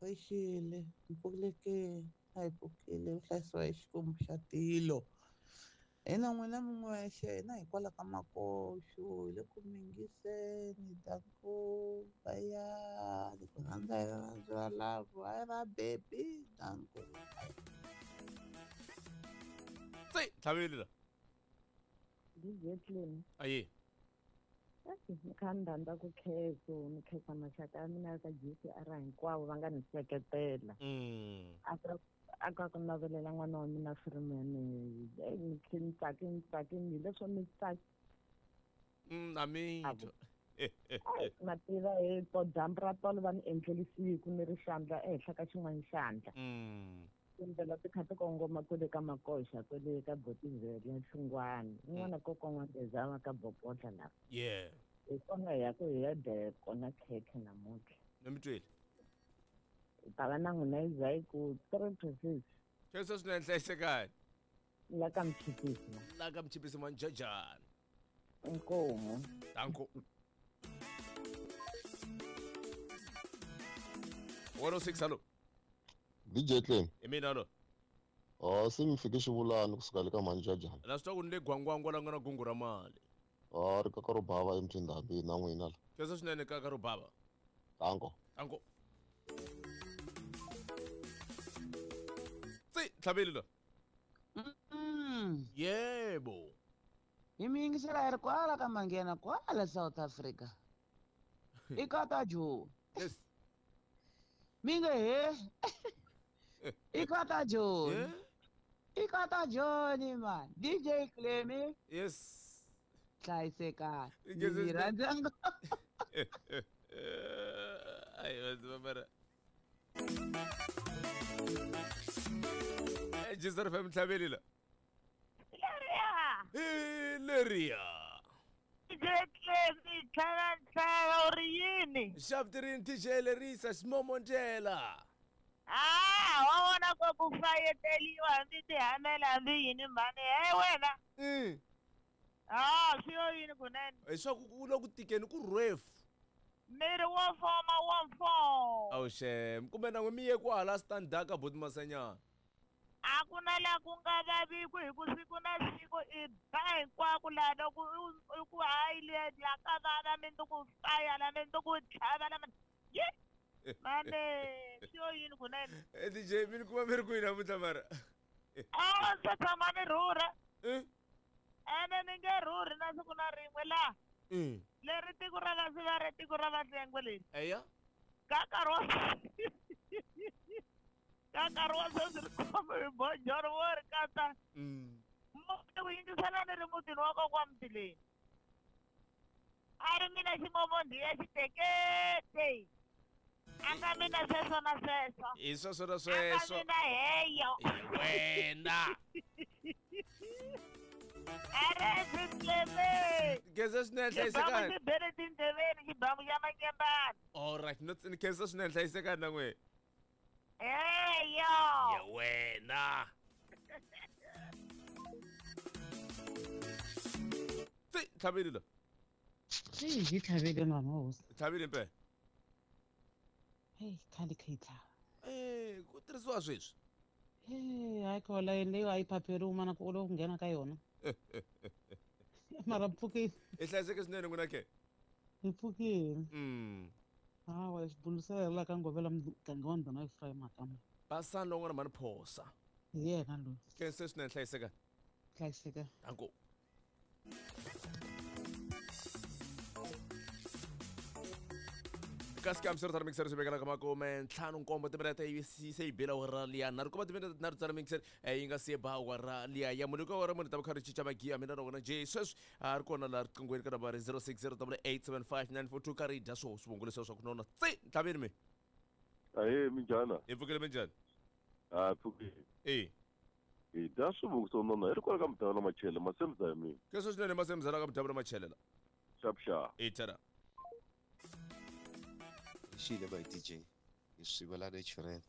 Ri xile, hi pfukile ke? A hi pfukile, u hlayisiwa hi Xikwembu xa tilo. Hina n'wina mi n'wexe hina hikwalaho ka makoxo hi le ku mi yingiseni danko bayani ku rhandza hi rirhandzu ra love hayi ra baby danko. Tsi, tlhaveli la. DJ Clean. Aye. Ni kha ni rhandza ku khensa ni khensa maxaka ya mina ya ka GCR hinkwavo va nga ni seketela. A ka ku navelela n'wana wa mina Freeman ni khe ni tsaki ni tsakini hi leswo ni tsaki. Na mi twa. Ma tiva hi to dyambu ra tolo va ni endlele siku ni ri xandla ehenhla ka xin'wana xandla. Tindlela ti kha ti kongoma kwele ka Makoxa kwele ka Botivele Nhlungwani un'wana ko kongomeza ka Bobodla la. Yeah. Hi kona hi ya ku hi ya dya kona khekhe namuntlha. Ni mi twile. Hi ta va na n'wina yi za yi ku 3 to 6. Khensa swinene hlayisekani. La ka Mchipisi la. La ka Mchipisi manjajani. Inkomu. Danko. 106 hallo. DJ Clem. Hi mina lo. Ah, se mi fike xivulani kusuka le ka Manjajana. La swi twa ku ni le gwangwangwa la nga na gungu ra mali. Ah, ri kaka ro bava emtindhambi na n'wina la. Khensa swinene kaka ro bava. Danko. Danko. Tsi, tlhaveli la. Yebo. Hi mi yingisela hi ri kwala ka Manghena kwala South Africa. I kata Joe. Yes. Mi nge he. I kata Joe. Yeah. I kata Johnny man. DJ Clemmy. Yes. Hlayisekani. Yes, Ni yes, rhandza ngopfu. Ai, va Jesus FM tlhaveli la. Leriya. Hi leriya. DJ Clemmy tlhava tlhava u ri yini? Xaptirini TJ Lerisa ximomontela. Ah, wa vona ko ku fayeteliwa hambi tihamela hambi yini mhani he wena. Ah, swi yo yini kunene? Hi swa ku ku le ku tikeni ku rhefu. Miri wo foma wo mfo. Awu xem, kumbe na n'we mi ye kwala standard ka buti Masanyana. A ku na laha ku nga vaviku hi ku siku na siku i ba hinkwako laha loko u ku hayi le la ka vava mindzuku faya la mindzuku tlhava la ye mane swi yo yini kunene? DJ mi ni kuma mi ri kwihi namuntlha mara? A se tshama ni rhurha. Ene ni nge rhurhi na siku na rin'we laha. Leri tiko ra Vasivare tiko ra Vahlengwe leri. Eya. Ka nkarhi wa ka nkarhi wa sweswi ri khome hi bojoro wo ri katsa. Muti ku yingisela ni ri mutini wa kokwa Mtileni. A ri mina ximomondi ya xitekete. A nga mina sweswo na sweswo. Hi sweswo na A nga sweswo. mina heyo. Wena. Khensa swinene hlayisekani. Xibamu xi bele tindleveni xibamu xa manyembani. All right, no ni khensa swinene hlayisekani na n'we. Heyo. Ya wena. Tsi, tlhaveli la. Tsi, hi tlhavele n'wana wa hosi. Tlhavile mpela. Hey, khale kha yi tlhava. Ku tirhisiwa sweswi. Hey, hayi khola leyo a yi phapheri un'wana ku u nghena ka yona. Mara pfukile. I hlayiseke swinene n'wina ke? Hi pfukile. Hawa xibulusela la ka ngovela muganga wa ndhuna Ephraim Makamba. Basani lowun'wana mhani phosa. Hi yena loyi. Khensa swinene hlayiseka. Hlayiseka. Danko. Ka xikam xi ri tara mixer swi vekela ka makume ntlhanu nkombo timinete yi se yi bela awara liya nharhu kuma timinete tinharhu tsara mixer yi nga se ba awara liya ya mune ka awara mune ta va kha ri cinca magiya mina na wena J sweswi a ri kona laha riqinghweni ka nambara 0608875942 ka ri dya swoho swivongo leswiya swa ku nona tsi ntlhaveni mi. Ahee, minjhani? Hi pfukile minjhani? Ha pfukile. E. Hi dya swivongo swo nona hi ri kwala ka mudavula na machele masemza ya mina. Keswo swinene masemza la ka mudavula machele la. Xap xa. E tara. Xile by DJ hi swi vula natural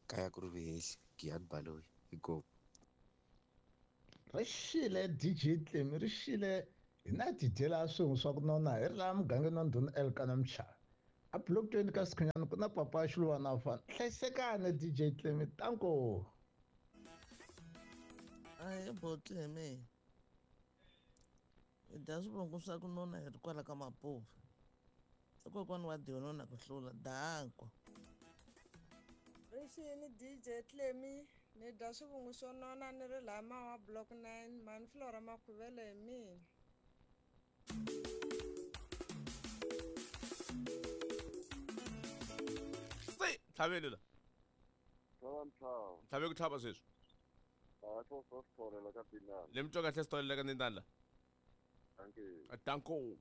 kaya ku ri vihehli Giyani Baloyi hi go. Ri xile DJ Clem ri xile hi na ti dyela swin'we swa ku nona hi ri laha mugangeni wa ndhuna Elkana Mchava. A block 20 ka Sikhunyana ku na papa Xilwana fana. Hlayisekani DJ Clemi, tanko. Ahe Botleme. Hi dya swivongo swa ku nona hi ri kwala ka Mapuva. I kokwana wa Diona na ku hlula danko. Rixini DJ Clemi, ni dya swivungu swo nona ni ri laha Mawa Block 9, mhani Flora Makhuvele hi mina. Se tlhaveni la. Tlhava. Tlhave ku tlhava sweswi. A swo swo swi ka Dinana. Le mi twa kahle swi ka Dinana la. Thank you. Danko.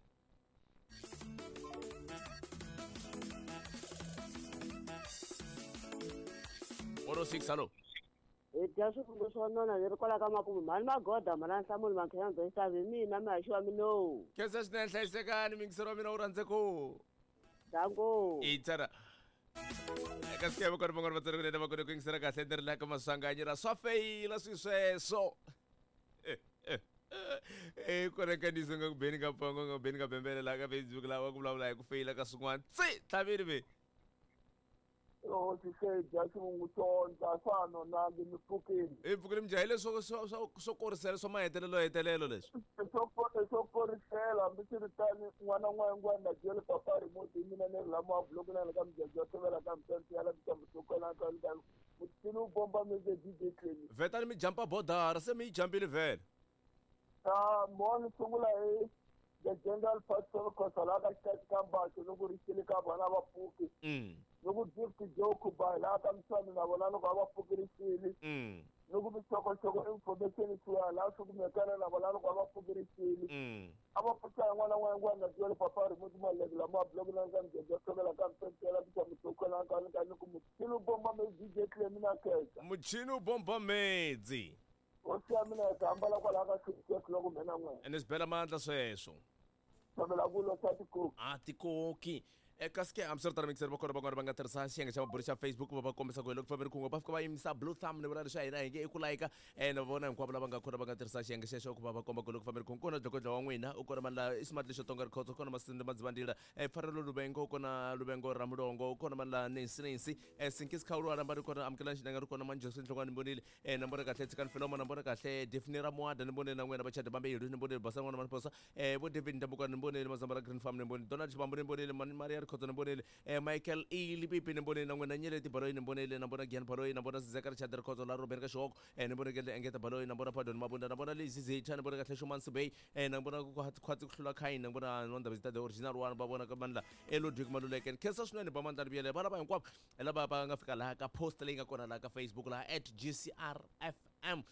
Oro 6 hello. Hi dya swivungu swo nona ni ri kwala ka Mapuva, mhani Magoda, mhani Nhlamulo, Mankhenyazo Xitavi, hi mina mihaxi wa minowu. Khensa swinene, hlayisekani mingisero wa mina wu rhandze ku. Danko. Itsara. Eka sikebe kona van'wana va tsari kunene va kone ku yingisela kahle ni ri laha ka Maswanganyi ra swa feyila swi sweswo. Kona nkandziyiso nga ku beni ka pongo nga ku beni ka bembele laha ka Facebook laha wa ku vulavula hi ku feyila ka swin'wana. Tsi tlhaveni ve. Hosi se dya xivungu xondla swa nonangi mi pfukile. Hi pfukile minjhahi leswo swo korisela swa mahetelelo hetelelo leswi. Swo korisela hambi swi ri tani n'wana n'wangwana na jele papa remote hi mina ni ri lama wa block na le ka mujajja wa tlhevela ka mutante ya la mitambuhlokwana ka ka mutini wu bomba meze DJ Clemi. Vhetani mi jampa bodara se mi yi jampile vhele. Mo ni sungula hi the general pastor Khosa laha ka xikati ka Mbaxo loko ri xile ka vona va pfuki. Loko Gift Joe Khuba laha ka Mswani na vona loko a va pfukirisile. Loko mixokoxoko information swi laha swi kumekana na vona loko a va pfukirisile. A va pfuxa n'wana n'wana na jele papa remote maleke lama block na ka mujajja tlhevela ka mutante la mitambuhlokwana ka ka ni ku muchini wu bomba medzi DJ Clemi na khensa. Muchini wu bomba medzi. Hosi ya mina yi ta hambala kwalaho ka sweswo loko mhena n'wina. Ene swi bela mandla sweswo. Tshamela ku losa tikoki. A tikoki. Kasi ke hambiswiritano mixer va kona van'wana va nga tirhisa xiyenge xa mabulu xa Facebook va va kombisa ku hi loko fambeni kun'we va fika va yimisa blue thumb ni vula leswi a hina hi nge i ku layika ene va vona hinkwavo lava nga kona va nga tirhisa xiyenge xexo ku va va komba ku loko fambeni kun'we kona dlokodlo wa n'wina u kona mani la i smart lexo tonga rikhotso kona Masindi Madzivandila Pfarelo Luvengo kona Luvengo ra Mulongo kona mani la Nancy Nancy Sinkisi Khawulwana va ri kona Amukelani Xinanga ri kona Manjosi Nhlongwane ni vonile na vona kahle Tshikani Filomo na vona kahle Daphne Ramuada ni vonile na n'wina Vachadi Vambirhi ni vonile Basa n'wana Maphosa vo David Ndambukwana ni vonile Mazambala Green Farm ni vonile Donald Xibambu ni vonile Maria Rikhotso ni vonile Michael E Lipipi ni vonile na n'wina Nyeleti Baloyi ni vonile na vona Gian Baloyi na vona Zizeka Richard Rikhotso la Robert ka Xihoko ni vona Kele Engeta Baloyi na vona Pardon Mabunda na vona Lizzy Zitha ni vona kahle Shuman Sibey na vona ku khwatsi ku hlula Khaini na vona Nwanda Vizita the original one va vona ka mandla Elodwick Maluleke khensa swinene ba mandla Ribiyele va lava hinkwavo lava va nga fika laha ka post leyi nga kona laha ka Facebook laha @GCRFM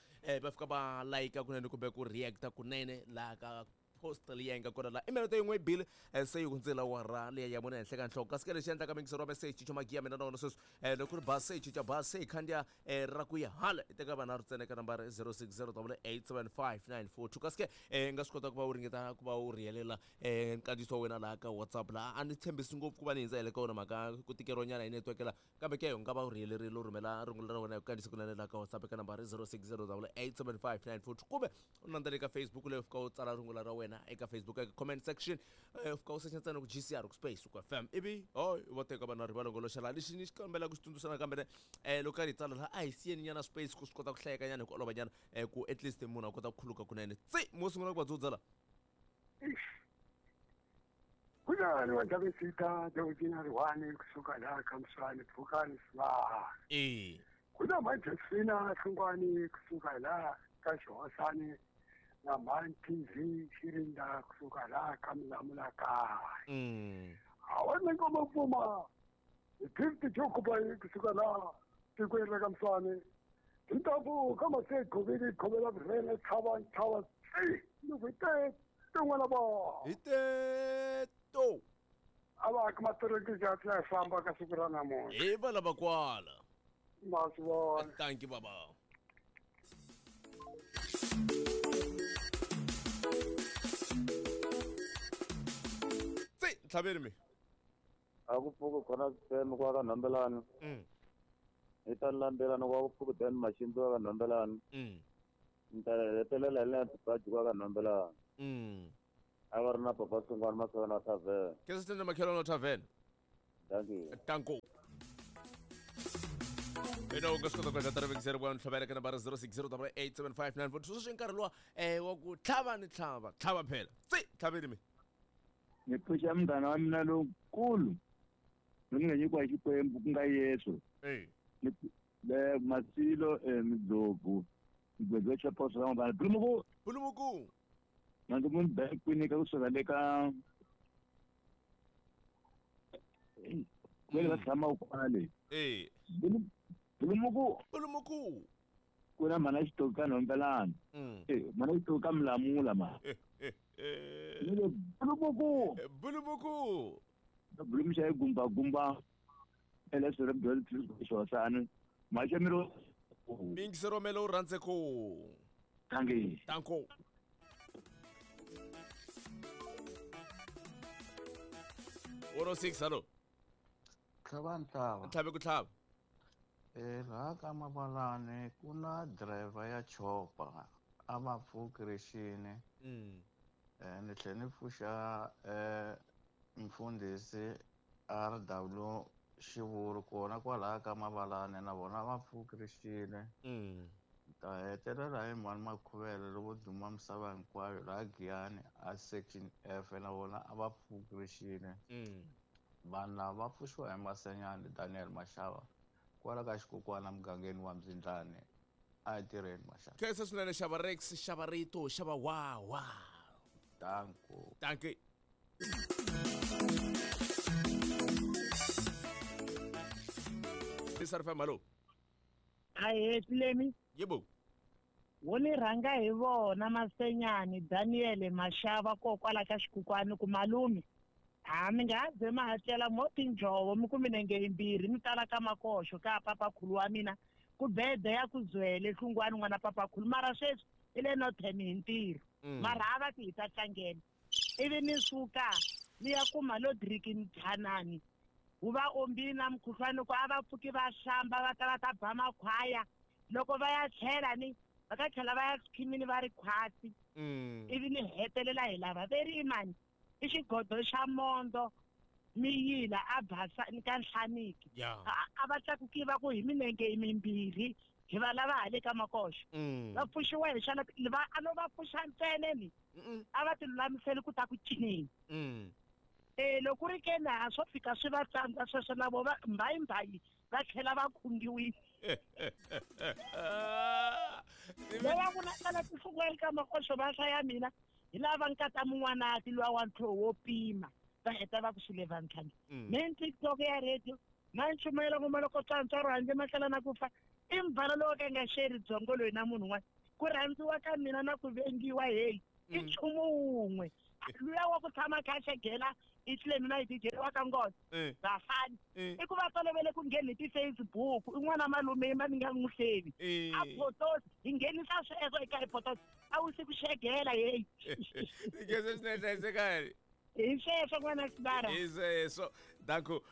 va fika va like kunene kumbe ku reacta kunene laha ka post leyi nga kona laha i minete yin'we yi bile se yi hundzela wara leyi ya vona henhla ka nhloko kasi ke lexi endlaka mingisero wa meseji cinca magiya mina na wona sweswi loko ri ba se cinca ba se hi khandziya ra ku ya hala i teka vanharhu ntsena eka nambara 0608875942 kasi ke nga swi kota ku va u ringeta ku va u rhiyelela nkandziyiso wa wena laha ka WhatsApp laha a ni tshembisi ngopfu ku va ni hindza hi le ka wona mhaka ku tikeriwa nyana hi network la kambe ke u nga va u rhiyelerile u rhumela rungula ra wena hi ku kandziyisa kunene laha ka WhatsApp eka nambara 0608875942 kumbe u landzela eka Facebook leyi u fika u tsala rungula ra wena eka Facebook eka comment section u fika u secha ntsena ku GCR ku space ku FM ivi hoy va teka vanhu va longoloxa laha lexi ni xi kombela ku xi tsundzuxa nakambe loko karhi hi tsala laha a hi siyeni nyana space ku swi kota ku hlayeka nyana hi ku olova nyana ku at least munhu a kota ku khuluka kunene tsi mo sungula ku va dzudza la Kunani wa Davisita the original one kusuka laha ka Mswani Phukani Sibaha. Kuna Majesina Hlungwani kusuka laha ka Xihosani na Man TV Xirinda kusuka laha ka Mlamula kaya. Awa ngoma pfuma Gift Jokuba kusuka laha tikweni ra ka Mswani. Tintambu ka Masekhovini khovela vurhele chava chava loko hi te tin'wana va hi teto a va ka matiriki ya tlhela famba ka siku ra namuntlha hi va lava kwala ma swi vona. Thank you baba. Tsi tlhaveni mi a ku pfuki khona swifeme kwa ka Nhambelani. Hi ta landelana kwa ku pfuki Dan Maximbi wa ka Nhambelani. Ni ta hetelela hi le Tibaji kwa ka Nhambelani. A va ri na papa Sungwana Masana Tavern. Ke se tende makhelwane wa Tavern. Dankie. Danko. Ina u nga swi kota ku endla tarivekiseri wa ntlhavela ka nambara 06088759 sweswi nkarhi luwa wa ku tlhava ni tlhava tlhava phela tsi tlhaveni mi ni pfuxa munghana wa mina lowukulu loyi ni nga nyikiwa hi Xikwembu ku nga Yesu le Masilo Midlovu migwedzo xa poso ra mabana Bulumuku Bulumuku na ndzi munhu bank kwinika kusuka le ka kwele va tshamaka kona le Bulumuku Bulumuku ku na mhana xitoki ka Nhombelani mhana xitoki ka Milamula ma ni le Bulumuku Bulumuku Bulumuxa hi gumba gumba elesere byo xosani maxemiro mingisero melo rhandze ku tangi tanko oro 6 hello tlhava ntlhava tlhave ku tlhava laha ka Mabalani ku na driver ya chopa a va pfuki rixini ni tlhela ni pfuxa mfundhisi RW Xivuru kona kwalaya ka Mabalani na vona va pfuki rixini ta hetelela hi mhani Makhuvele lovo duma misava hinkwayo laha Giyani a section F na vona a va pfuki rixini vanhu lava va pfuxiwa hi Masenyani Daniel Mashava kwala ka xikokwana mugangeni wa Mzindlane a hi tirheni Mashava khensa swinene xava Rex xava rito xava wawa danko dankie Isarfa malo ahe Tlemi yebo wo ni rhanga hi vona Masenyani Daniel Mashava kokwala ka xikukwani ku malume a mi nga ze ma hatlela mo tinjhovo mi ku minenge yimbirhi mi tala ka makoxo ka papakhulu wa mina ku bede ya ku zwele hlungwani n'wana papakhulu mara sweswi i le Northern hi ntirho mara a va ti hi ta tlangela ivi ni suka ni ya kuma Lodriki Mthanani wu va ombini na mukhuhlwani ku a va pfuki va hlamba va ta va ta ba makhwaya loko va ya tlhela ni va ta tlhela va ya khikhimini va ri khwatsi ivi ni hetelela hi lava ve ri mani i xigodo xa mondo miyila a basa ni ka Nhlaniki a va tlakuki va ku hi minenge mimbirhi hi va lava hale ka makoxo va pfuxiwa hi xana va a no va pfuxa ntsena ni a va ti lulamiseli ku ta ku cineni loko ri ke na swo fika swi va tsandza sweswo na vo va mbayimbayi va tlhela va khungiwile lava ku na tihlungwani ka makoxo va hlaya mina hi lava nkata mun'wanati luwa wa ntlhoho wo pima va heta va ku swile va ntlhanu me TikTok ya radio na nchumayela ngoma loko tswantswaro handle matlhela na ku fa i mbala lowu ka nga xeri byongo loyi na munhu un'wana ku rhandziwa ka mina na ku vengiwa heyi i nchumu wun'we luya wa ku tshama kha xegela i Tlemi na DJ wa ka Nghozi vafani i ku va tolovele ku nghena hi ti-Facebook i n'wana malume ma ni nga n'wi hlevi a photos hi nghenisa sweswo eka hi photos a wu si ku xegela heyi ngese swinene hlayisekani hi sweswo n'wana Sibara hi sweswo danko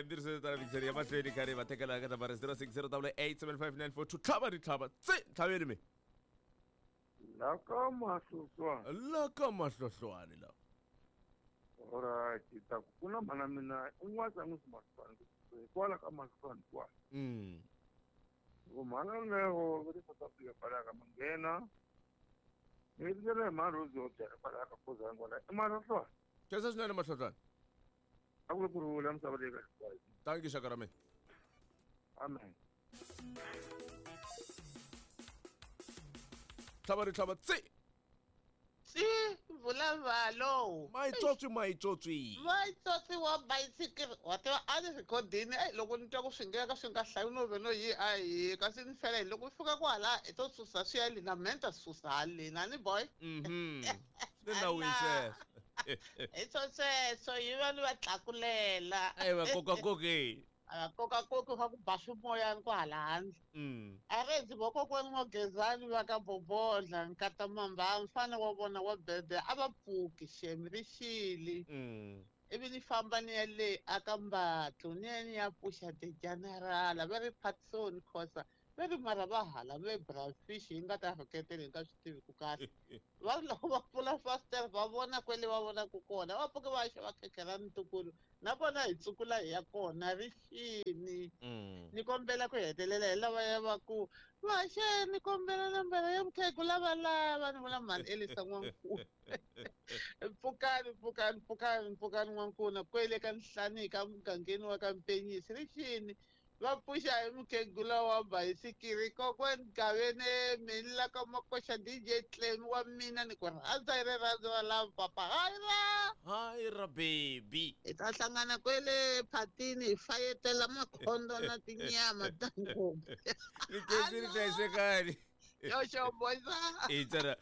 mbiriso tala mikiseri ya mahlweni karhi va tekela ka nambara 06087594 tlhava ni tlhava tsi tlhaveni mi la ka Mahlohlwane la ka Mahlohlwane la alright ta ku na mhana mina un'wana n'wi Mahlohlwane kwala ka Mahlohlwane kwala mhana leyo va le South Africa kwala ka Manghena ni ndlela hi mhana Rose yo byala kwala ka Khozani kwala i Mahlohlwane khensa swinene Mahlohlwane a ku kurhula misava leyi ka hinkwayo thank you xaka ra mina amen tlhava ri tlhava tsi tsi vulavalo maitsotsi maitsotsi maitsotsi wa bayisikiri wa tiva a ni rhikhodini loko ni twa ku swi ngeka swi nga hlayi no ve no yi a hi kasi ni fela hi loko fika kwala i to susa swi ya lina mina ni ta susa haleni ni boy swi le nawini sweswo hi swo sweswo yi va ni va tlakulela a va kokakoki a kokakoki va ku ba swimoyani kwahala handle a rendzi vokokwani N'wagezani va ka Bobodla nkata Mamba mfana wa vona wa bebe a va pfuki xemi ri xili ivi ni famba ni ya le aka Mbatlo ni ya ni ya pfuxa the general va ri Patson Khosa Va ri mara va hala ve brafish yi nga ta rhuketela hi nga swi tivi ku kahle. Va ri loko va pfula fasitere va vona kwele va vonaka kona, va pfuke va ya xava khekhe ra ntukulu na vona hi tsukula hi ya kona rixini. Ni kombela ku hetelela hi lavaya va ku vaxe ni kombela nambara ya mukhegula va lava ni vula mhani Elisa N'wankuna. Pfukani pfukani pfukani pfukani N'wankuna kwele ka Nhlanika mugangeni wa ka Mpenyisi rixini. Va pfuxa hi mukhegula wa bayisikiri kokwani Gavene mina ka Makoxa DJ Clem wa mina ni ku rhandza hi rirhandzu ra lava papa hayira hayira baby hi ta hlangana kwele phatini hi fayetela makhondo na tinyama ta ngopfu ni khensile hlayisekani yoxo boysa i tsara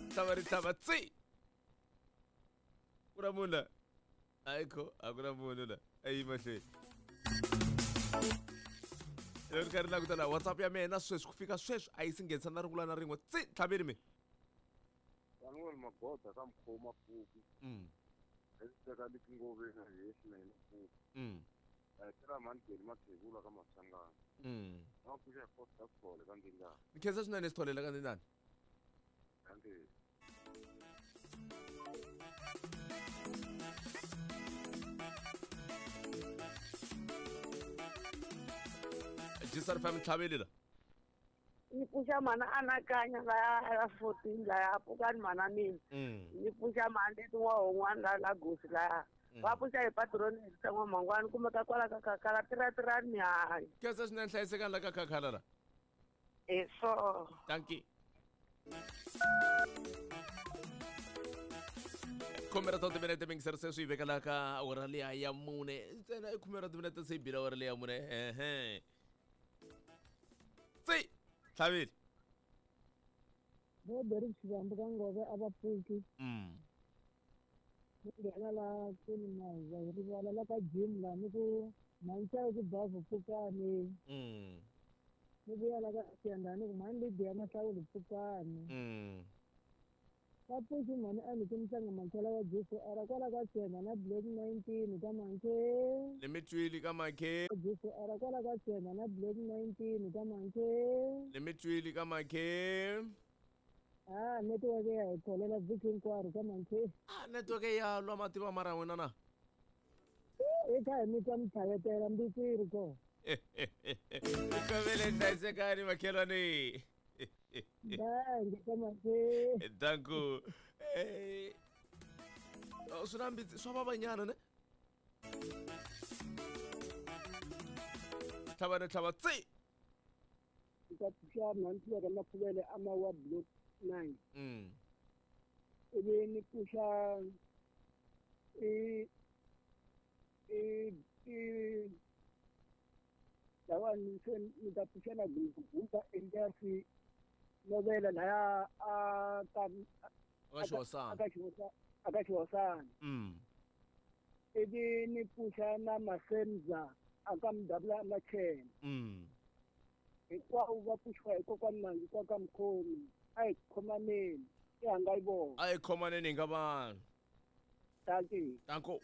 tlhava ri tlhava tsi ku na munhu la ayikho a ku na munhu la ayi mahlweni loko ri karhi languta la WhatsApp ya mina sweswi ku fika sweswi a yi si nghenisa na rungula na rin'we tsi tlhaveni mi Samuel Magoda ka Mkhoma Pfuki. Hi teka letingoveni a hi swinene Pfuki. A hi tela mhani Geli Mathebula ka Masangana. Va pfuxa hi Costa Sithole ka Ndingana. Ni khensa swinene Sithole la ka Ndingana. Dankie. Jisar fam tlhaveli la. Ni pfuxa mhana anakanya laya ya 14 laya pfukani mhana mina. Ni pfuxa mhani leti n'wa la la gosi laya. Va pfuxa hi patroni hi n'wa mangwani kumbe ka kwala ka khakhala tiratirani hayi. Khensa swinene hlayisekani la ka khakhala la. Eso. Dankie. Khume ra timinete mingiseri se swi yi vekela ka awara liya ya mune ntsena i khume ra timinete se yi bile awara liya ya mune ehe tsi tlhavile vo Derek Xivambu ka Ngove a va pfuki. Ni nghena la kuni na hi rivala la ka gym la ni ku mhani ku bavhu pfukani. Ni vuya la ka Xiyandani ku mhani Lydia Mahlawuli pfukani. Va pfuxi mhani a ni ku mhlanga makhela wa GCR kwala ka Tshemba na Black 19 ka Mankhe. Ni mi twile ka Mankhe. GCR kwala ka Tshemba na Black 19 ka Mankhe. Ni mi twile ka Mankhe. Ah, network ya hi kholela vhiki hinkwaro ka Mankhe. Ah, network ya lwa mativa mara n'wina na. Hi kha hi mi twa mi tlhavetela mbitsi yi ri kona. Kovele hlayisekani makhelwani. Danko. Swi na mbitsi swa vavanyana ne? Tlhava ni tlhava tsi. Ni ta pfuxa mhani Tlhuveka Makhuvele a Mawa Block 9. Ivi ni pfuxa i lawani se ni ta pfuxa na Gumba Elias Novela laya a ka aka Xihosana. Ivi ni pfuxa na Masenza aka Mdabula Machene. Hinkwavo va pfuxiwa hi kokwani Mangi kwa ka Mkhomi. A hi khomaneni i hanga yi vona. A hi khomaneni hi nga vanhu. Dankie. Danko.